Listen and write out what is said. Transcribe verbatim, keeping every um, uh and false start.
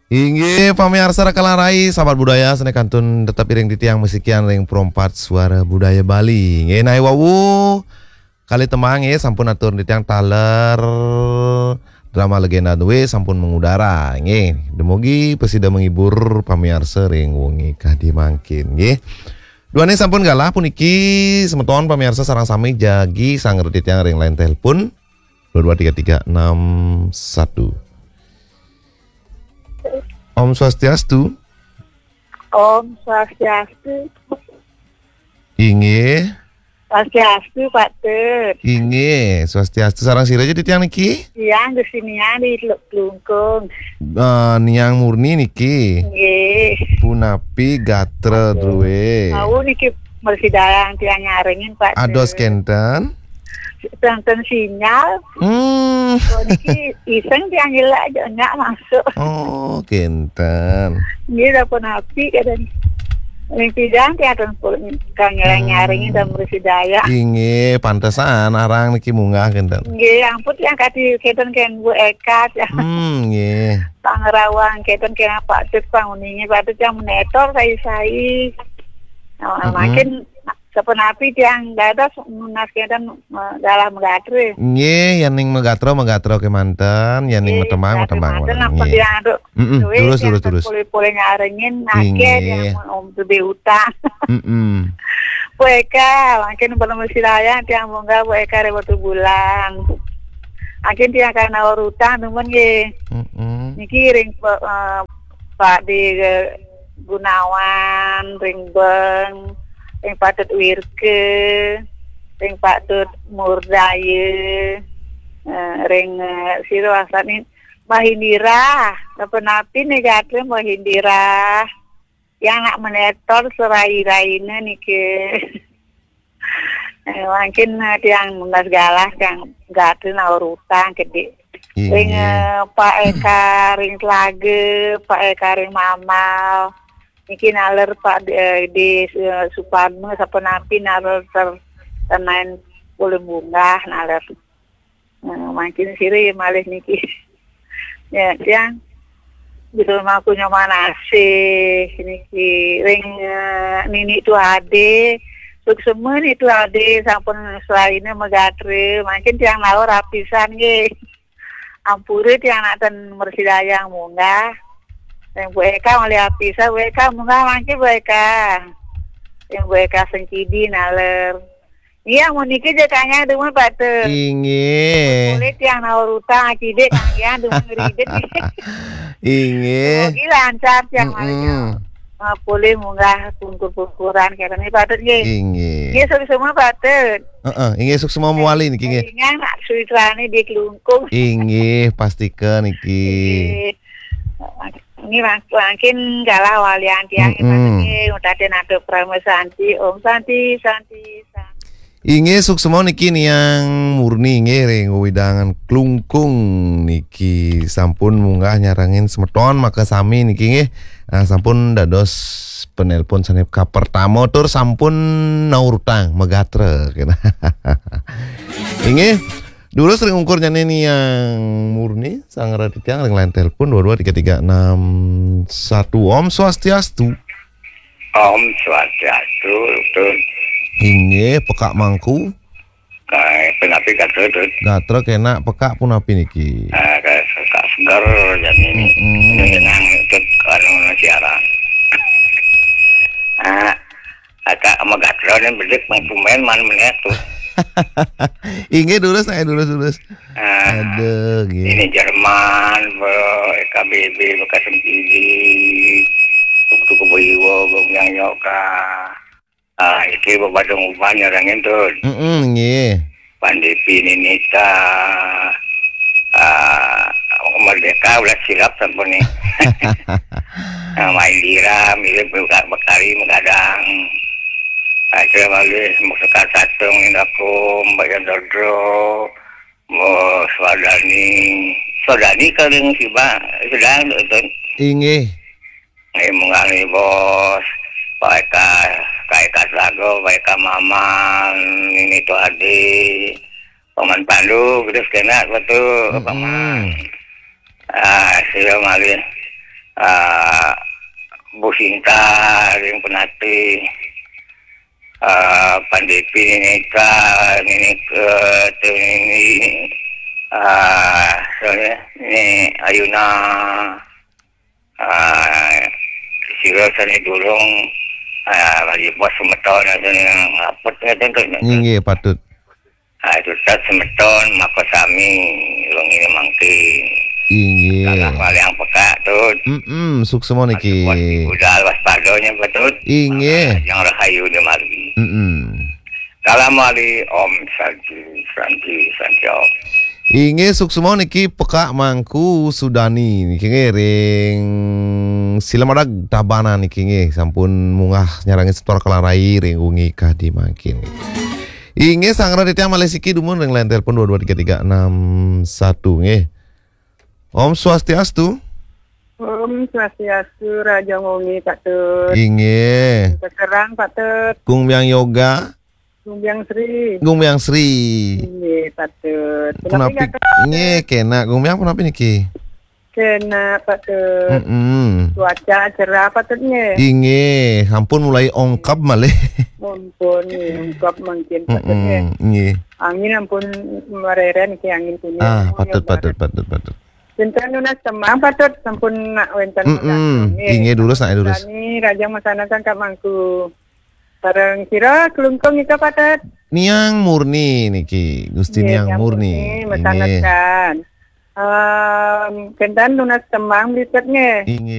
Inggih, pamiarsa Raka Larai, sahabat budaya, sané kantun tetep iring titiang masikian ring Perempat Suara Budaya Bali. Inggih, naé wau kalih tembang nggih sampun atur titiang taler drama Legenda Due sampun mengudara. Inggih, dumugi prasida menghibur pamiarsa ring wengi kadi mangkin nggih. Duaning sampun galah puniki semeton pamiarsa sareng sami jagi sanggra titiang ring line telepon dua dua tiga tiga enam satu. Om Swastiastu. Om Swastiastu. Inggih. Swastiastu, Pak Tut. Inggih, Swastiastu. Sareng sira aja titiang niki? Tiang Gusti Niang di Teluk Klungkung. Eh, Niang Murni niki. Nggih. Punapi gatra druwe? Tahu niki mresidayang tiang nyarengin, Pak Ados Tut. Kenten? Kenten sinyal. Hmm. Oh, niki iseng tiang nyelak aja nyak masuk. Oh, kenten. Nggih, dah punapi kadang. Ning pidang tiang ten pun kang nyarengin dan mresidayang. Inggih, pantesan arang niki munggah kenten. Nggih, ampun tiang kadi kenten kén Bu Eka tiang. Hmm, nggih. Pangrawang kenten kén Pak Tut pang uninge Pak Tut yang menetor sai-sai. Nah, makin sapunapi tiang dados nunas kenten, eh, galah magatre. Nggih, yen ning magatra, magatra kemanten, yen ning matembang, matembang kemanten, kemanten. Napa nggih. Tiang aduh, mm-mm, duit terus, tiang terus, terus. Pulih-pulih nyarengin, akeh inggih. Tiang mun om gede utang. Mm-mm. Bu Eka, mangkin belum silayang tiang munggah Bu Eka ring Batu Bulan. Mangkin tiang kana urutang temen nggih. Mm-mm. Niki ring, eh, Pak di, eh, Gunawan, ring Beng, ring Pak Tut Wirke, ring Pak Tut Murdaya, eh, ring, eh, sira wasani Mbah Indira, napa-napi nih gatre Mbah Indira. Yang nak menetor serai-raine niki. Eh, mangkin, eh, tiang nunas galah, tiang gatre naur utang gede. Inggih. Ring, eh, Pak Eka, ring Telaga, Pak Eka, ring Mamal. Niki naler Pak di, eh, di, eh, Suparno, sapunapi naler ter-, tenaen pulih munggah naler. Nah, mangkin sira ya malih niki. Ya, tiang Jero mangku nyoman asih niki ring, eh, Nini Tu Ade. Suksema Nini Tu Ade sampun selaine magatre. Mangkin tiang naur apisan nggih. Ampure tiang nak ten mresidayang munggah. Ring Bu Eka malih apisan, Bu Eka munggah mangkin Bu Eka. Ring Bu Eka Sengkidi naler. Iya, mun niki ja kangge dumun, Pak Tut. Inggih. Boleh tiang naur utang, cidik kangge dumun ngridit. Inggih. Mugi lancar tiang malih. Mm-mm. Ah, boleh munggah pungkur-pungkuran kene, Pak Tut, nggih. Inggih. Nggih, suksma, Pak Tut. Heeh, inggih, suksma mawali niki, nggih. Inggih, nak suitrane di Klungkung. Inggih, pastika niki. Inggih. Ini mak-, mangkin galah walian tiang, mm-mm. Nggih, utatin atur Parama Santi, Om Santi, Santi, Santi. Inggih, suksma niki Niang Murni nggih ring wewidangan Klungkung niki sampun munggah nyarengin semeton makasami niki nggih. Ah, sampun dados penelpon sane kapertama tur sampun naur utang magatra. Inggih, durus ring ungkur nyane Niang Murni, sang raditya ring line telepon dua dua tiga tiga enam satu. Om Swastiastu. Om Swastiastu, Tut. Inggih, pekak mangku. Kae, punapi gatra, Tut? Gatra kenak, pekak punapi niki? Ah, kae pekak seger jani. Mm-mm. Ini nyenang, Tut, anu siaran. Ah, agak magatra nih bedik main pemain man meneh, Tut. Inggih, durus, saya durus, durus. Ah, aduh, nggih. Ini Jerman, Bro, K B B, bekas M P D, Tuktuk Kebo Iwa, Gong Yang Yoka. Ah, iki Bebadung Uban nyarengin, Tut. Mm-mm, nggih. Pandipi Ninita, ah, Merdeka udah silap sampun nih. Ah, Maindira, milih buka bekari, menggadang. Ah, itu yang lalu, Sekar Satung, Indakum, Mbak Yandodro, Oh, Swadani. Swadani kering siba sedang nonton. Inggih. Nggih, munggah nggih, Bos. Pak Eka, Pak Eka Sago, Pak Eka Maman, ini tuh Adi. Paman Pandu, terus kena betul, mm-mm. Paman. Ah, sira malih. Ah, Bu Sinta, ring penatih. Ah, Pan Depi, Nini Eka, Nini Ke, tu Nini, ah, soalnya ni Ayuna, ah, sira sane durung, ah, lagi bos semeton sane ngapet ngeten tu. Inggih, patut. Ah, itu tat semeton, maka sami, wong ini mangkin. Inggih. Salah paling pekak tu. Mm-mm, suksma niki. Bos budal waspadanya patut. Inggih. Yang rahayu di mari. Mm-mm. Salam mari, Om Santi, Santi, Santi Om. Inggih, suksma niki pekak Mangku Sudani niki nggih ring Silamadag Tabanan niki nggih sampun munggah nyarangi setor kalarai ring wengi kadi mangkin. Inggih, sanggra titiang malih siki dumun ring line telepon dua dua tiga tiga enam satu nggih. Om Swastiastu. Om Swastiastu, rahajeng wengi, Pak Tut. Inggih. Keserang, Pak Tut. Gung Biang Yoga. Gung Biang Sri. Gung Biang Sri. Inggih, Pak Tut. Punapi? Punapi, Pak Tut? Nggih, kena. Gung Biang punapi niki? Kena, Pak Tut. Mm-mm. Cuaca cerah, Pak Tut, nggih. Inggih, sampun mulai ongkab malih. Ampun, nggih, ongkab mangkin, Pak Tut, nggih. Mm-mm, nggih. Angin ampun mareren niki, angin kuning. Ah, patut, patut, patut, patut. Wénten nunas tembang, Pak Tut, sampun nak wénten. Mm-mm. Nunas, nggih. Inggih, durus nak durus. Sami rahajeng masandesan Kak Mangku. Sareng sira Klungkung nika, Pak Tut. Niang Murni niki, Gusti. Nggih, Niang Niang Murni. Murni, masandesan. Inggih. Em, kénten nunas tembang, Pak Tut, nggih. Inggih.